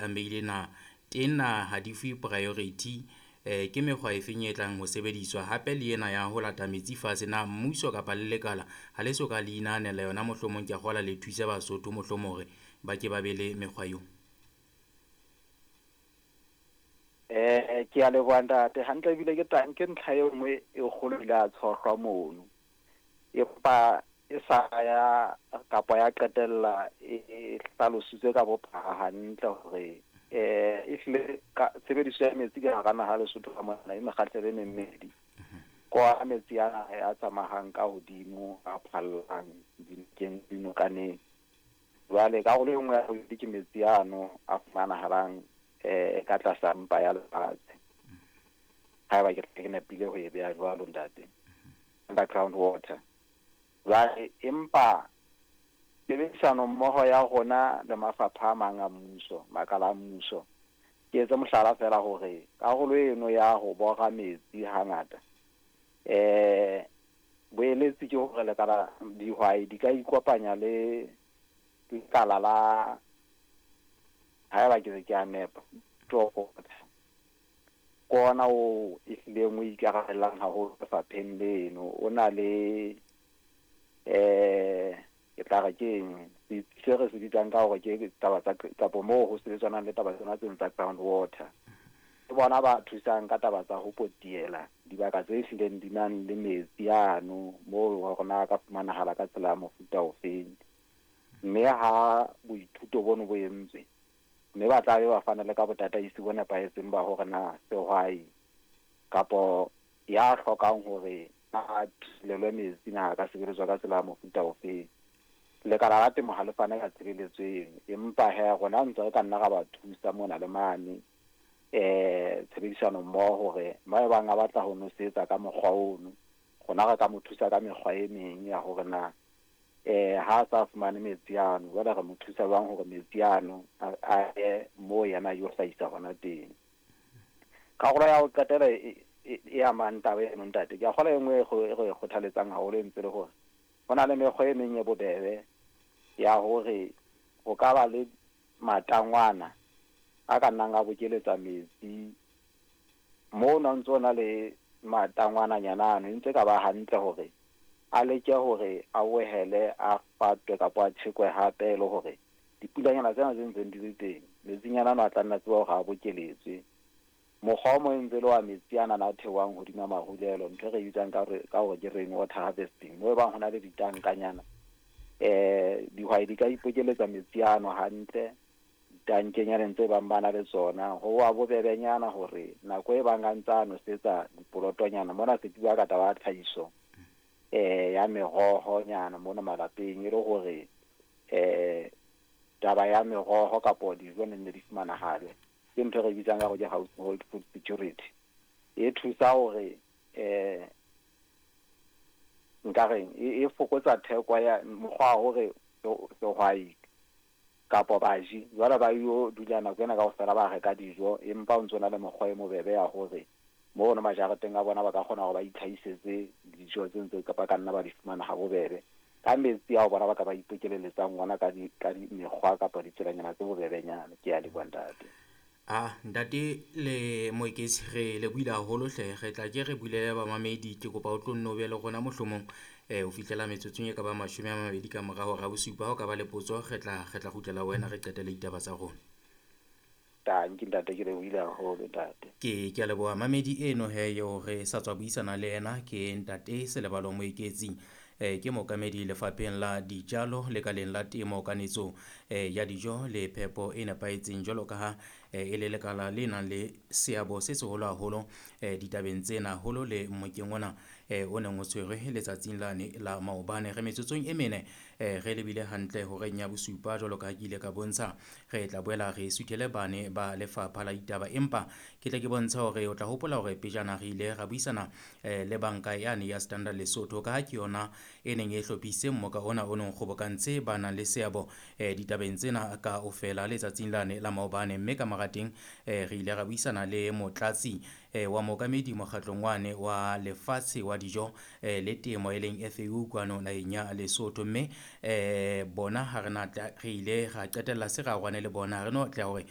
amehile na teng na ha di fuwe priority? Ke mekgwa e feng e tlang ho sebediswa? Hape le ena ya ho lata metsi fatshe na mmuso kapa le lekala ha le so ka le inahanela yona? Mohlomong ke a kgola le thuse Basotho mohlomong hore ba ke ba be le mekgwa eo. Ke a leboha ntate. Hantle ebile ke tang ke ntlha e nngwe e kgolo ile ya tshohlwa mono. Empa e sa ya kapa ya qetella e hlalositswe ka bophara hantle hore ehlile ka tshebediso ya metsi ka hara naha Lesotho ka mona e mekgahlelo e memmedi. Kwa metsi ana a tsamayang ka hodimo a phallang dinokeng dinokaneng. Jwale karolo e nngwe ya bobedi ke metsi ano a fumanahalang ka tlasa mpa ya lefatshe. Haeba ke ke nepile ho e beha jwalo ntate. Underground water. Jwale empa tshebedisano mmoho ya rona le mafapha a mang a mmuso, makala a mmuso, ke etse mohlala fela hore karolo eno ya ho bora metsi hangata boeletsi ke hore lekala dihwai di ka ikopanya le lekala la, haeba ke ke a nepa, ke ona o ehlileng o ikarabellang haholo lefapheng leno. O na le ke tla re keng se re se bitsang ka hore ke taba tsa kapo moo ho sebetsanang le taba tsena tseno tsa ground water. Ke bona ba thusang ka taba tsa ho potiela dibaka tse hlileng di nang le metsi ano moo hore na ka fumanahala ka tsela ya mofuta ofeng. Mme ha boithuto bono bo entswe, mme ba tla be ba fana le ka botataisi bo nepahetseng ba hore na sehwai kapo ya hlokang hore a thulelwe metsi na ka sebeletswa ka tsela ya mofuta ofeng. Lekala la temo ha le fane ka tshebeletso eno, empa he rona ntse re ka nna ra ba thusa mona le mane tshebedisano mmoho hore ba bang a batla ho nosetsa ka mokgwa ono, rona re ka mo thusa ka mekgwa e meng ya hore na ha a sa fumane metsi ano, jwale re mo thusa jwang hore metsi ano a ye moo yena yo hlahisa hona teng. Karolo ya ho qetela e amang taba eno ntate, ke a kgolwa e nngwe e re e kgothaletsang haholo e ntse le hore ho na le mekgwa e meng e bobebe ya hore ho ka ba le matangwana a ka nnang a bokeletsa metsi. Moo no ntso na le matangwananyana ano, e ntse ka ba hantle hore a leke hore a bohele a fatwe kapa a tjhekwe hape, e le hore dipulanyana tsena tse ntseng di le teng, metsinyana ano a tla nna tseba hore a bokeletswe. Mokgwa o mong e ntse le wa metsi ana a theohang hodima marulelo, ntho e re bitsang ka hore ke rain water harvesting, moo e bang ho na le ditankanyana dihwai di ka ipokeletsa metsi ano hantle ditankenyaneng tse bang ba na le tsona. Ho wa bobebenyana hore nako e bang a ntsa a nosetsa dipolotonyana mona, se ke bua ka taba ya tlhahiso ya meroho nyana mona malapeng, e le hore taba ya meroho kapo dijo ne nne di fumanahale. Ke ntho e re bitsang ka hore ke household food security. E thusa hore nka reng e fokotsa theko ya mokgwa wa hore sehwai kapo baji jwale ba yo dula nako ena kaofela ba reka dijo, empa o ntso na le mokgwa e mobebe ya hore mono majareteng a bona ba ka kgona hore ba itlhahisetse dijo tse ntse ba ka nna ba di fumana ha bobebe ka metsi ao bona ba ka ba ipokeleletsang ona ka di mekgwa kapa ditselanyana tse bobebenyana. Ke a leboha ntate. Ah, ntate le Moeketsi, re lebohile haholo hle. Re tla ke re bulele bamamedi. Ke kopa o tlo nno be le rona mohlomong ho fihlela metsotsong e ka ba 20 ka mora hora bosupa. Ha o ka ba le potso, re tla kgutlela ho wena re qetele ditaba tsa rona. Tanki ntate, ke lebohile haholo ntate. Ke a leboha mamedi eno he eo re sa tswa buisana le yena ke ntate Selebalo Moeketsi. Ke mookamedi lefapheng la dijalo lekaleng la temo kanetso ya dijo le phepo e nepahetseng, jwalo ka ha e le lekala le nang le seabo se seholo haholo ditabeng tsena haholo le mmokeng ona o neng o tshwerwe letsatsing lane la maobane. Re metsotsong e mene re lebile hantle horeng ya bosupa, jwalo ka ha ke ile ka bontsha. Re tla boela re suthele bane ba lefapha la ditaba, empa ke tle ke bontshe hore o tla hopola hore pejana re ile ra buisana le banka yane ya Standard Lesotho, ka ha ke yona e neng e hlophisitse mmoka ona o neng kgobokantse ba nang le seabo ditabeng tsena kaofela letsatsing lane la maobane. Mme ka mora teng re ile ra buisana le motlatsi wa mookamedi mokgatlong wane wa lefatshe wa dijo le temo e leng FAO kwano naheng ya Lesotho. Mme bona ha re na re ile ra qetella se ra rwane le bona, ha re no tla hore